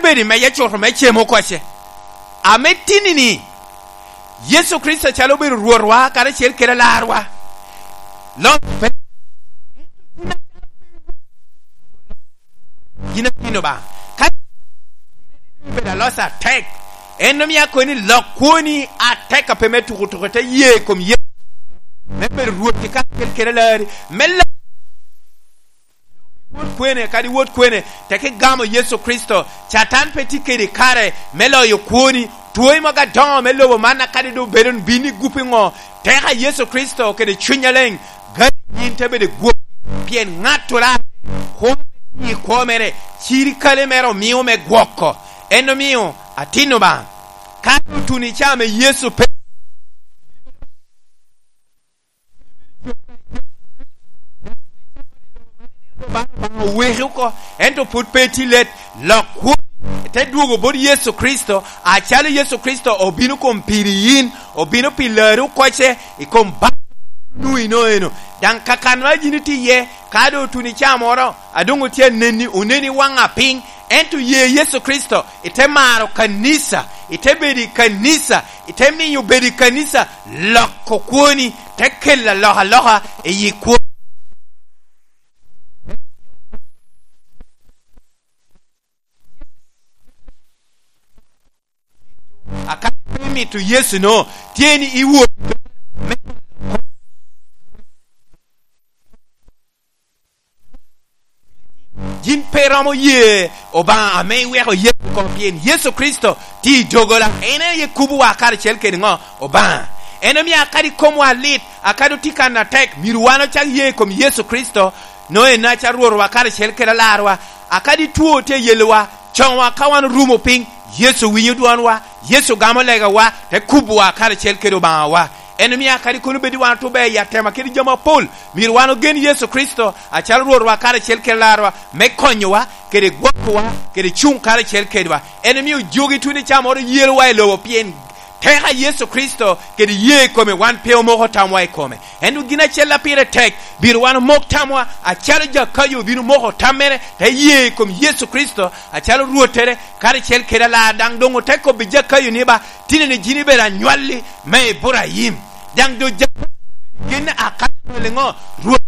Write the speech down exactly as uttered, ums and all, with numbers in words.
obedo i meja cuto me cemo koce. Ame tini-ni, Yecu Kricito calo obedo Rwotwa karacel kede Alarwa. Loc pe gin atin Lubanga. Ka obedo alosa atek, en omiyo akoni ni lok kwoni atek ka pe me tuko tuko ite ye i kom Yecu me bedo Rwoti karacel kede Alari me loc. Wot kwene, kadi wot kwene, tek igamo Yecu Kricito, Catan pe tye kedi kare me loyo kwoni. Twoi mogo adongo me lobo man kadi dong obedo ni bino igupi ngo, teka Yecu Kricito kede Cwiny Maleng gadi in te bedo igwoki, pien ngat orare kwo me tye i kwo mere, cirikale mere omiyo me gwoko. En omiyo atin Lubanga, kadi otuni ca me Yecu pe. Lubanga oweki oko, ento pud pe itye let. Lok kwoni te dwogo bot Yecu Kricito, acalo Yecu Kricito obino kom piri in, obino pi lari okoce i kom bal ma in inongo eno. Dang kakan ma in itye iye, ka dong otuni ca moro, adongo tye aneni, oneni wanga piny, ento ye Yecu Kricito, ite maro kanisa, ite bedo i kanisa, ite miyo bedo i kanisa, loko kwoni, te kelo alokaloka i kwoni. Akadi pe imito Yecu no, tye ni iwot me loko. Gin pe romo ye Obanga ame iweko Yecu oko pien Yecu Kricito tye i dogola. En aye kubowa karacel kede ngo? Obanga. En omiyo akadi komwa lit, akadi otye ka natek, myero wan ocak ye i kom Yecu Kricito, nongo en aca Rwotwa karacel kede Alarwa. Akadi two tye yelowa, conwa ka wan orumo piny, Yecu winyo dwonwa, Yecu gamo legawa, te kubowa karacel kede Obangawa. En omiyo kadi kono bed ni wan otubbe i atema kede jami mapol, myero wan ogen Yecu Kricito acalo Rwotwa karacel ki Alarwa me konyowa, kede gwokowa, kede cung karacel kedwa. En omiyo jogi twine ca moro yelowa i lobo pien teka Yecu Kricito kede ye i kome wan pe omoko tamwa i kome. Ento gin acel a pire tek, myero wan omok tamwa acalo Jakayo obino moko tammere te ye i kom Yecu Kricito acalo Rwottere karacel kede Alar. Dang dong ote kobbi Jakayo ni ba Tinene jini bedo anywalli me Iburaim, dang do Jakobo te bedo genne akanya anywalli ngo? Rwot